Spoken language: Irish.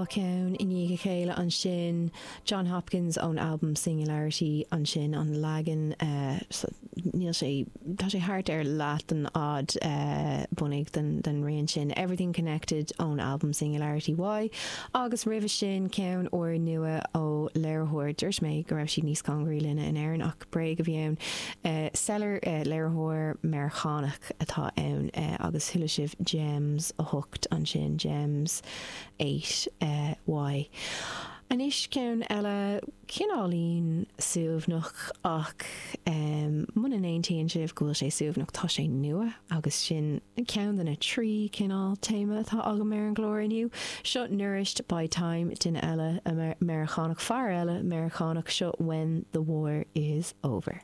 cheann i ndiaidh a chéile ansin, Jon Hopkins ón albam Singularity ansin, an leagan, níl sé, tá sé thart ar leath den fhad bunaidh den rian sin, Everything Connected ón albam Singularity Y, agus roimhe sin ceann úr nua ó léiritheoir, dúirt mé go raibh siad níos cóngaraí linne in Éirinn ach bréag a bhí ann, Cellar, léiritheoir Meiriceánach atá ann agus chuala sibh Gems 8 ansin, Gems 8 Y. Anois ceann eile, cineáilín suaimhneach ach muna n-aontaíonn sibh go bhfuil sé suaimhneach tá sé nua agus sin ceann de na trí chineál téama atá agam ar an gclár inniu. Seo Nourished by Time, duine eile Meiriceánach, fear eile Meiriceánach, seo When the War is Over.